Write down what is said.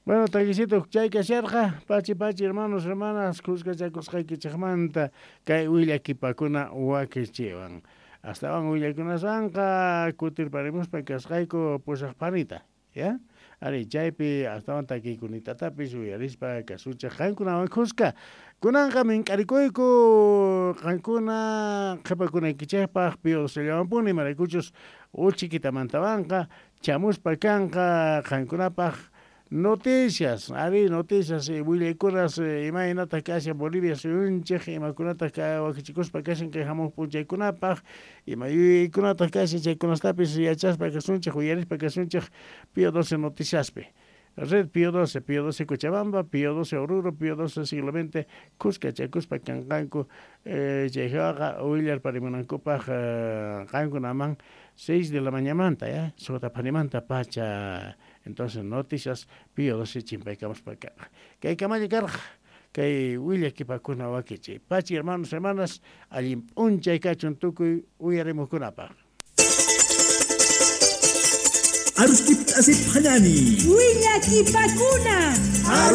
Bueno, takisito chay kasharqa, pachi pachi hermanos, hermanas, khuskachakusqaykichikmanta kay willakipakuna wakichiwan. Astawan willakunaswanqa kutirparimuspa kasqayku pusaq panita, ya? Ari, chaypi astawan takiykunitatapis uyarispa kasuchej qankunawan khuska. Kunanqa mink'arikuyku qankuna qhipakunaykichikpaq Pío Docellawanpuni, imaraykuchus uchikitamantawanqa chamuspa kanqa qankunapaq noticias, ari, noticias, willaykunas imaynataq kashan Bolivia suyunchik, imakunataq wakichikuspa kashan kay hamuq p'unchaykunapaq, ima yuyaykunataq kashan chaykunastapis yachaspa kasunchik, uyarispa kasunchik Pío XII Noticiaspi. Red Pío XII, Pío XII Cochabamba, Pío XII Oruro, Pío XII Siglo XX, khuskachakuspa kanqanku, chayqa willarparimunankupaq qankunaman 6 de la mañamanta, ya, suqta phanimanta pacha. Entonces noticias Pío XII chimpaykamuspa kanqa. Kay kamalla karqa, kay willakipakuna wakichiy. Pachi hermanos, hermanas, allin p'unchay kachun tukuy uyarimuqkunapaq. Aruskip asip hanani. Willakipakuna.